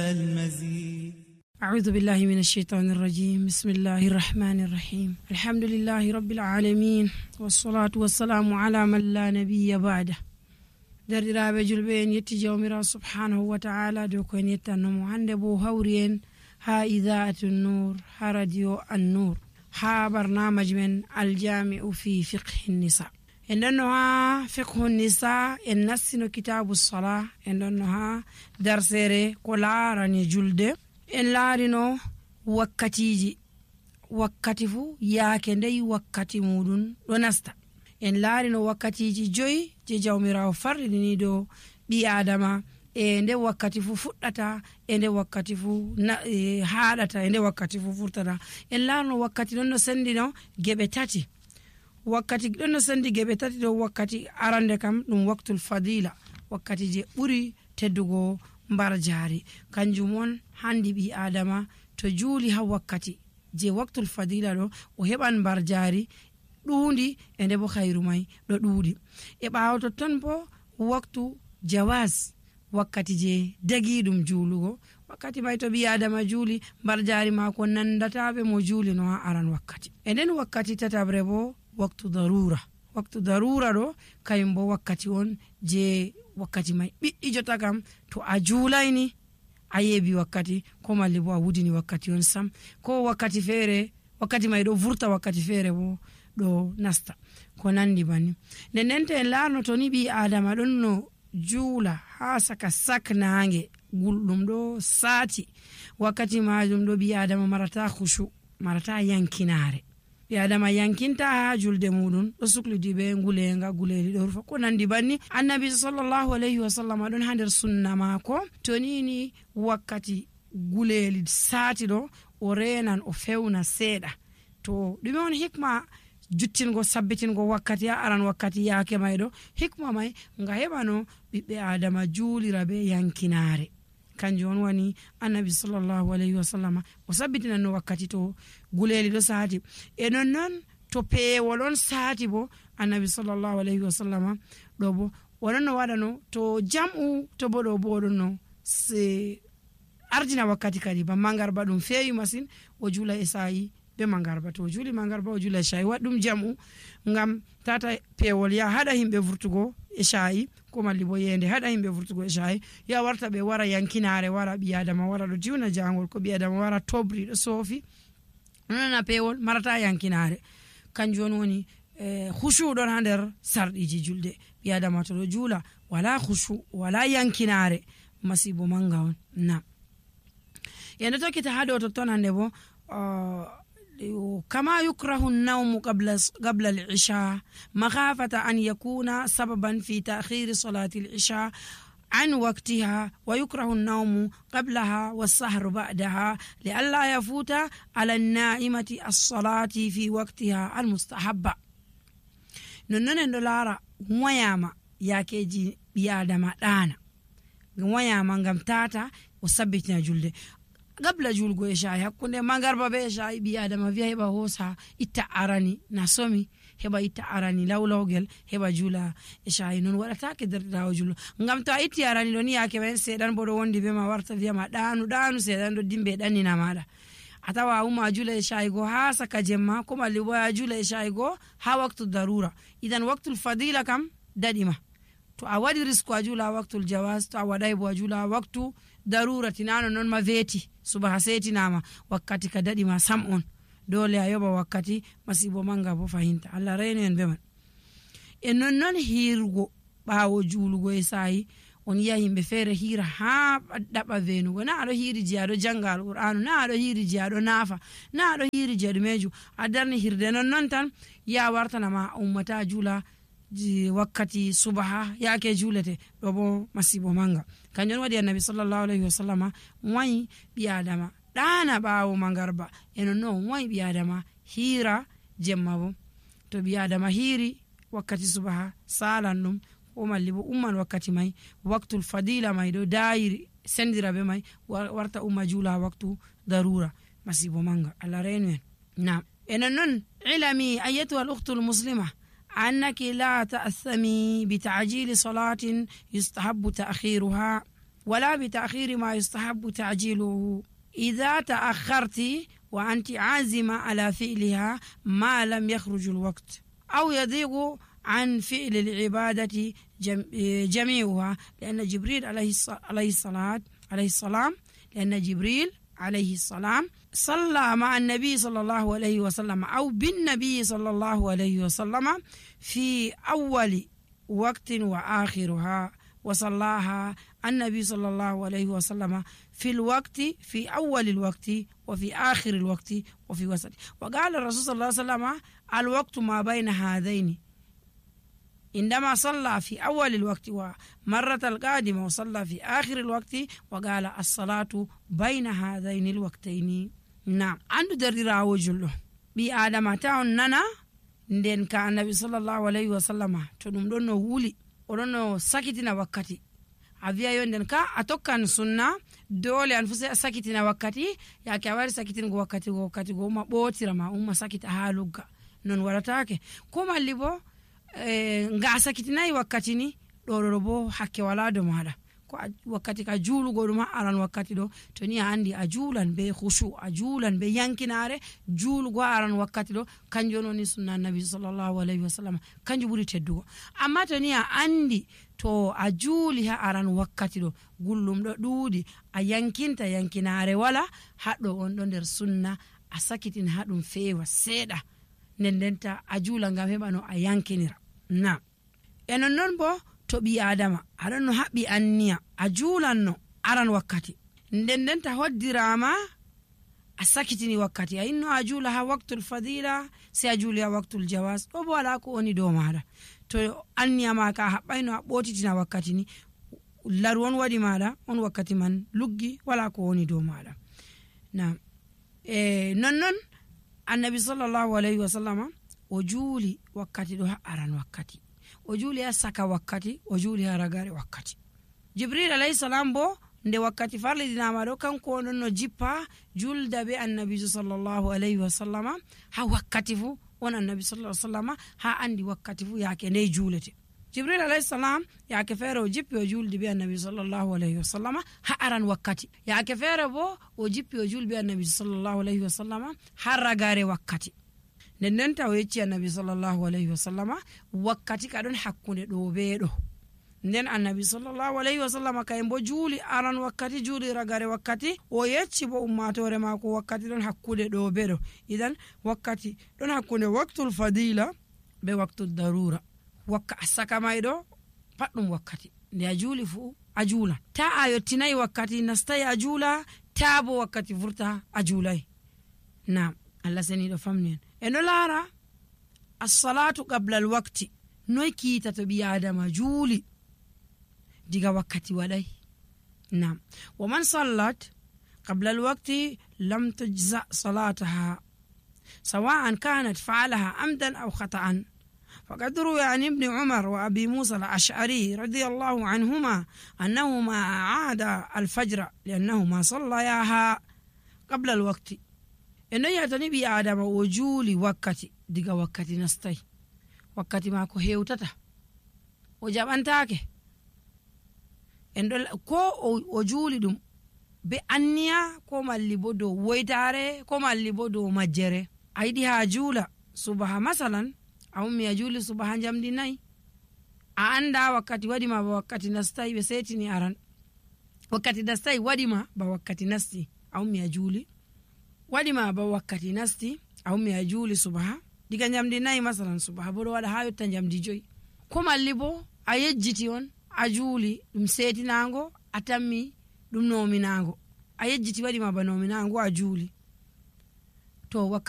المزيد. أعوذ بالله من الشيطان الرجيم. بسم الله الرحمن الرحيم. الحمد لله رب العالمين والصلاة والسلام على من لا نبي بعده. derɗiraɓe julɓe en yetti jawmirawo subhanahu wa ta'ala dow ko en yettannomo hande bo hawri en ha idaatu nur ha radio an-nur ha barnamaji men aljami'u fi fiqhi nisa. en ɗonno ha fiqhu nisa en nassino kitabu sala, en ɗonno ha darsere ko laarani julde. en laarino wakkati fu yaake ndey wakkati muɗum ɗo nasta. en laarino wakkatiji 5 je jawmirawo farɗini dow ɓi adama e nde wakkati fu fuɗɗata e nde wakkati fu haɗata e nde wakkati fu furtata. en laarino wakkati ɗon no sendino geɓe tati. wakkati ɗon no sendi geɓe tati dow wakkati arande kam ɗum waktul fadila, wakkati je ɓuri teddugo mbar jaari. kanjum on handi ɓi adama to juuli ha wakkati je waktul fadila ɗo o heɓan mbar jaari ɗuundi e nde bo hayru mai ɗo ɗuuɗi. e ɓawo totton bo waktu jawaz, wakkati je dagi ɗum juulugo, wakkati mai to ɓi adama juuli mbar jaari mako nandataɓe mo juuli no ha aran wakkati. e nden wakkati tatabre bo waktu darura ɗo kayum bo wakkati on je wakkati mai ɓiɗɗi jota kam to a juulayni a yeebi wakkati, ko malli bo a wudini wakkati on sam, ko wakkati feere wakkati mai ɗo vurta, wakkati feere bo ɗo nasta, ko nandi bani. nden to en laarno to ni ɓi adama ɗon no juula ha saka sak nange gulɗum ɗo saati, wakkati majum ɗo ɓi adama marata khushu, marata yankinare. ɓi adama yankinta ha julde muɗum, ɗo suklidi be ngulenga guleli ɗo rufa, ko nandi banni. annabi sallallahu alayhi wa sallam ɗon ha nder sunna mako to nini wakkati guleli saati ɗo o renan o fewna seeɗa. to ɗume on hikma juttingo sabbitingo wakkati ha aran wakkati yaake mai ɗo? hikma mai nga heɓano ɓiɓɓe adama juulira be yankinare. kanjum on wani annabi sallallahu alayhi wa sallam o sabbitinanno wakkati to guleli ɗo saati. e nonnon to peewol on saati bo annabi sallallahu alayhi wa sallam ɗo bo oɗon no waɗano to jam'u, to bo ɗo bo oɗon no ardina wakkati kadi ba mangarba ɗum feewi masin o juula e sayi be mangarba. to o juuli mangarba o juula e shayi, waɗ ɗum jam'u ngam tata peewol ya haɗa himɓe vurtugo e shayi, ko malli bo yende haɗa himɓe vurtugo e shayi, ya warta ɓe wara yankinare, wara ɓi adama wara ɗo jiwna jangol, ko ɓi adama wara tobri ɗo soofi, nonana peewol marata yankinare. kanjum on woni khushu ɗon ha nder sarɗiji julde. ɓi adama to ɗo juula wala khushu wala yankinare, masibo manga on. nam yende tokkita ha ɗo totton hande bo كما يكره النوم قبل العشاء مخافة أن يكون سببا في تأخير صلاة العشاء عن وقتها، ويكره النوم قبلها والسهر بعدها لئلا يفوت على النائمة الصلاة في وقتها المستحبة. ننن دولارا وياما ياكيجي بيادما دانا وياما ngam tata o sabbitina julde gabla julgo e shayi, hakkunde mangarba be shayi ɓi adama wiya heɓa hosa itta arani na somi, heɓa itta arani lawlawgel heɓa juula e shayi. non waɗatake derɗirawo jullo, ngam to a itti arani ɗo ni yake ɓen seeɗan bo ɗo wondi be ma warta wiyama ɗanu seeɗan ɗo dimbe ɗannina maɗa, a tawa uma juula e shayi go ha saka jemma, ko malli bo a juula e shayi go ha waktu darura. idan waktul fadila kam daɗima, to a waɗi risque a juula waktul jawaz, to a waɗay bo a juula waktu darura. tinano non ma veeti subaha setinama wakkati ka daɗima sam on, dole a yoɓa wakkati, masibo manga bo fahinta. allah reyno en be man. e nonnon hirgo ɓawo juulugo e sayi, on yiya yimɓe feere hira ha ɗaɓa venugo, na aɗo hiri je aɗo janga alqur'anu, na aɗo hiri je aɗo naafa, na aɗo hiri je ɗumeju, a darni hirde nonnon tan ya wartanama ummata juula wakkati subaha yake juulete ɗo bo masibo manga. kanjum waɗi annabi sallallahu alayhi wa sallama wayi ɓi adama ɗana ɓawo mangarba, e nonnon wayi ɓi adama hira jemma bo. to ɓi adama hiri wakkati subaha salan ɗum, ko malli bo umman wakkati mai waktul fadila mai ɗo dayiri sendira be mai warta umma juula waktu darura, masibo manga. allah reynu en. nam e nonnon ilami ayyatuha al ukhtu al muslima أنك لا تأثمي بتعجيل صلاة يستحب تأخيرها ولا بتأخير ما يستحب تعجيله إذا تأخرت وأنت عازمة على فعلها ما لم يخرج الوقت أو يضيق عن فعل العبادة جميعها، لأن جبريل عليه السلام لأن جبريل عليه السلام صلى مع النبي صلى الله عليه وسلم أو بالنبي صلى الله عليه وسلم في أول وقت وآخرها، وصلاها النبي صلى الله عليه وسلم في الوقت في أول الوقت وفي آخر الوقت وفي وسط. وقال الرسول صلى الله عليه وسلم الوقت ما بين هذين، عندما صلى في أول الوقت ومرة القادمة وصلى في آخر الوقت وقال الصلاة بين هذين الوقتين. نعم عنده دريرا وجله بي آدم تاون نانا nden ka annabi sallallahu alaihi wasallama to dum don no wuli odon no sakitina wakkati a wiya yo nden ka a tokkan sunna dole an fusa sakitina wakkati yake a wari sakitin go wakkati go ma botira ma umma sakita ha lugga non waratake ko malli bo nga sakitinai wakkati ni do bo hakke wala do mada ko wakkati ka julugo dum aran wakkati do to ni andi a julan be khushu a julan be yankinare julugo aran wakkati do kanjono ni sunna nabi sallallahu alaihi wasallam kanju buri teddugo. Amma to ni andi to a juli ha aran wakkati do gullum do duudi a yankinare wala haddo on do der sunna a sakitin hadum fewa seda nendenta a jula ngam heba no a yankinira. Na enon non bo to bi adama aran no habbi anniya a julanno aran wakkati ndendenta hoddirama a sakitini wakkati a inno a jula ha waqtul fadila si a juli ha waqtul jawaz do bo ala ko oni do mada to anniya ma ka habbayno a botitina wakkati ni larwon wadi mada on wakkati man luggi wala ko oni do mada. Na non annabi sallallahu alaihi wasallam o juli wakkati do ha aran wakkati o juli ha saka wakkati o juli ha ragare wakkati. Jibril alayhi salam bo nde wakkati farlidinama do kanko non no jippa julda be annabi sallallahu alaihi wasallam ha wakkati fu on annabi sallallahu alaihi wasallam ha andi wakkati fu yake ne julete. Jibril alayhi salam yake fere o jippi o juldi be annabi sallallahu alaihi wasallam ha aran wakkati, yake fere bo o jippi o julbi annabi sallallahu alaihi wasallam ha ragare wakkati. Nden taw yecci annabi sallallahu alaihi wasallam wakkati kadon hakkunde do beedo. Nden annabi sallallahu alaihi wasallam kay mbo juli aran wakkati juli ragare wakkati o yecci bo ummatore mako wakkati don hakkude do beedo. Idan wakkati don hakkunde waqtul fadila be waqtul darura. Wakka asaka maydo paddum wakkati nde a juli fu a jula ta a yottinai wakkati nastai a jula ta bo wakkati furta a julai. Na Allah sani do famnen eno lara as-salatu qabla al-waqti noy kita to bi adama juli diga wakkati wadai. Na wa man sallat qabla al-waqti lam tujza salataha sawa'an kanat fa'alaha amdan aw khata'an. فقد روي عن ابن عمر وأبي موسى الأشعري رضي الله عنهما أنهما عاد الفجر لأنهما صلياها قبل الوقت. إنه يتني بي آدم وجولي وقتي ديغا وقتي نستي وقتي ماكو هيوتتا وجابانتاكي إنه كو وجولي دم بأنيا كو مالي بودو ويتاري كو مالي بودو مجري أيدي هاجولا صبح مثلا au mi ajuli subaha jamdi nay a anda wakkati wadima ba wakkati nastai be setini aran wakkati nastai wadima ba wakkati nasti au mi ajuli wadima ba wakkati nasti au mi ajuli subaha diga jamdi nay masalan subaha bodo wada hayo tan jamdi joy ko malli bo a yejjiti on ajuli dum setinango atammi dum nominango a yejjiti wadima ba nominango ajuli to